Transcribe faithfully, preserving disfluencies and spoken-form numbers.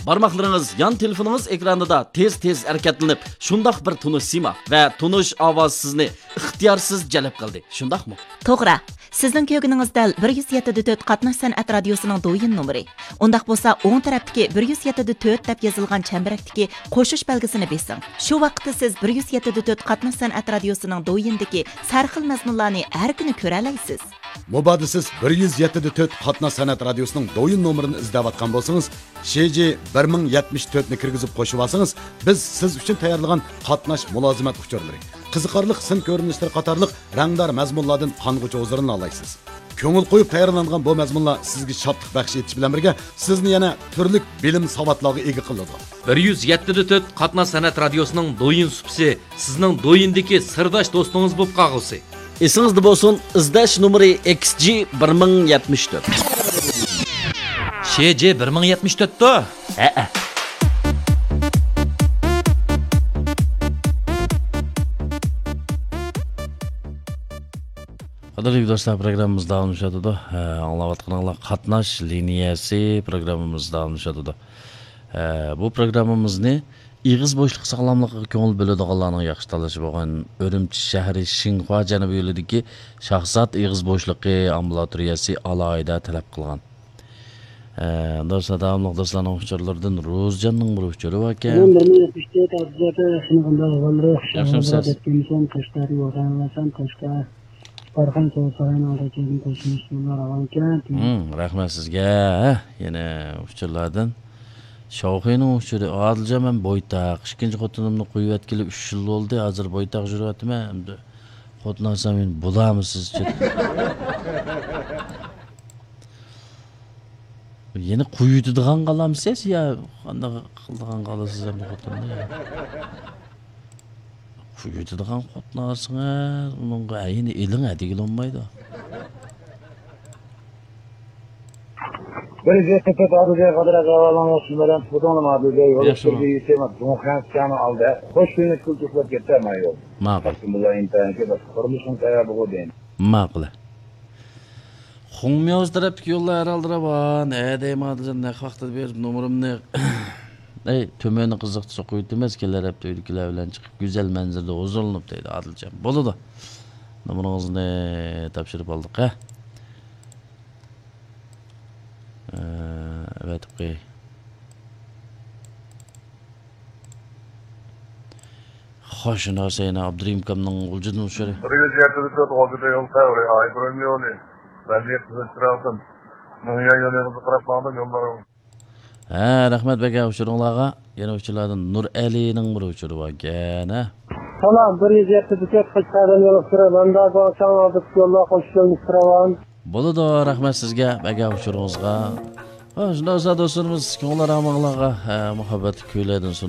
بارماقلىرىڭىز يان تېلېفونىڭىز ئېكرانىدا تېز-تېز ھەرىكەتلىنىپ، شۇنداق بىر تونۇش سىيما ۋە تونۇش ئاۋاز سىزنى ئىختىيارسىز جەلپ قىلدى، شۇنداقمۇ؟ توغرا. سىزنىڭ كۆرگىنىڭىز دەل بىر يۈز يەتتە دە تۆت قاتناش سەنئەت رادىيوسىنىڭ دويىن نومۇرى. ئۇنداق بولسا، ئوڭ تەرەپتىكى بىر يۈز يەتتە دە تۆت دەپ يېزىلغان چەمبىرەكتىكى قوشۇش بەلگىسىنى بېسىڭ. شۇ ۋاقىتتا سىز بىر يۈز يەتتە دە تۆت قاتناش سەنئەت رادىيوسىنىڭ دويىنىدىكى سەرخىل مەزمۇنلارنى ھەر كۈنى كۆرەلەيسىز. مۇبادا سىز بىر يۈز يەتتە دە تۆت قاتناش سەنئەت رادىيوسىنىڭ دويىن نومۇرىنى ئىزدەۋاتقان بولسىڭىز، شى جى بىر مىڭ يەتمىش تۆتنى كىرگۈزۈپ قوشۇۋالسىڭىز، بىز سىز ئۈچۈن تەييارلىغان قاتناش مۇلازىمەت ئۇچۇرلىرى، قىزىقارلىق سىن كۆرۈنۈشلىرى قاتارلىق رەڭدار مەزمۇنلاردىن قانغۇچە ھۇزۇرلىنالايسىز. كۆڭۈل قويۇپ تەييارلانغان بۇ مەزمۇنلار سىزگە شادلىق بەخش ئېتىش بىلەن بىرگە، سىزنى يەنە تۈرلۈك بىلىم ساۋاتلارغا ئىگە قىلىدۇ. بىر يۈز يەتتە دە تۆت قاتناش سەنئەت رادىيوسىنىڭ دويىن سۇپىسى سىزنىڭ دويىندىكى سىرداش دوستىڭىز بولۇپ قالغۇسى. ئېسىڭىزدە بولسۇن، ئىزدەش نومۇرى ئېكس جى بىر مىڭ يەتمىش تۆت. شى جى بىر مىڭ يەتمىش تۆتتۇ؟ ھەئە. قەدىرلىك دوستلار، پروگراممىمىز داۋاملىشىۋاتىدۇ. ھە، ئاڭلاۋاتقىنىڭلار قاتناش لىنىيەسى پروگراممىمىز داۋاملىشىۋاتىدۇ. ھە، بۇ پروگراممىمىزنى ئېغىز بوشلۇق ساغلاملىقىغا كۆڭۈل بۆلىدىغانلارنىڭ ياخشى تاللىشى بولغان ئۈرۈمچى شەھىرى شىنخۇا جەنۇبىي يولىدىكى شاھزات ئېغىز بوشلۇقى ئامبۇلاتورىيەسى ئالاھىدە تەلەپ قىلغان. ھە، دوستلار، داۋاملىق دوستلارنىڭ ئۇچۇرلىرىدىن روزىجاننىڭ بىر ئۇچۇرى باركەن. بىر مىڭ يەتمىش تۆت ئابزەتى شۇنىڭغا بالىلىرى ياخشىمۇسىز؟ دەپ كېلىمىسەن، قەشقەردىن ۋەتەنۋەتەن، قەشقەر. بارخان سوۋغا ساراينىڭ ئالدىدىن قوشۇلۇش يوللار راۋانكەن. ھىم، رەھمەت سىزگە. ھە، يەنە ئۇچۇرلاردىن. شاۋخېنىڭ ئۇچۇرى، ئادىلجان، مەن بويتاق. ئىككىنچى خوتۇنۇمنى قويۇۋەتكىلى ئۈچ يىل بولدى. ھازىر بويتاق يۈرۈۋاتىمەن. ئەمدى خوتۇن ئالسام مېنى بولامسىز؟ يەنە قويۇۋېتىدىغان قالامسىز يا قانداق قىلىدىغان قالىسىز ئەمدى خوتۇننى؟ قويۇۋېتىدىغان خوتۇن ئالسىڭىز، ئۇنىڭغا ئەينى ئېلىڭ ھە دېگىلى بولمايدۇ. بىر يۈز يەتتە تۆت ئادىل بەگ قادىر ئەزالارنىڭ ئىسىملىرىدىن تۇتۇڭلار ئادىل بەگ يول ياخشىمۇ؟ ئۈستىدىكى يېتىم دۇڭخەن سىكانىڭ ئالدىدا خوش كۈنلۈك كۈلكە ئۇخلاپ كەتتى ئەمما يول. ماقۇل. قەستىمۇللا ئىنتايىنكى باشقا قۇرۇلۇشنىڭ تەييار بولغۇ دەيمەن. ماقۇل. خۇڭميوز تەرەپتىكى يوللار ھەر ھالدا راۋان. ھە دەيمەن ئادىلجان، نەق ۋاقتىدا بېرىپ نومۇرۇمنى. ئەي، تۈمەننى قىزىقتۇرسا قويۇۋېتىمىز، كېلەر ھەپتە ئۆيدىكىلەر بىلەن چىقىپ گۈزەل مەنزىرىدە ھۇزۇرلىنىپ دەيدۇ ئادىلجان. بولىدۇ. نومۇرىڭىزنى تاپشۇرۇپ ئالدۇق ھە. ئەۋەتىپ قوياي. خوش، شۇنداق سەينا ئابدۇرېھىم ئاكامنىڭ غۇلجىدىن ئۇچۇرى. بىر يۈز يەتتە تۆت غۇلجىدا يول تەۋرى، ئايبرۆم يولى، بەلگە قىزىل چىراغدىن مىڭيا يولىغا قاراپ ماڭدىم يوللىرىڭ. ھە، رەھمەت بەگە ئۇچۇرۇڭلارغا. يەنە ئۇچۇرلاردىن نۇرئەلىنىڭ بىر ئۇچۇرى باركەن ھە. سالام، بىر يۈز يەتتە تۆت قەشقەردىن يول ئۈستىدە، مەنداغا چاڭ ئالدى يوللار قوشۇش يولنى سىراۋان. بولىدۇ، رەھمەت سىزگە بەگە ئۇچۇرىڭىزغا. ھە، شۇنداق بولسا دوستلىرىمىز، كۆڭۈل ئارامىڭلارغا، ھە، مۇھەببەت كۈيلەردىن سۇنۇپ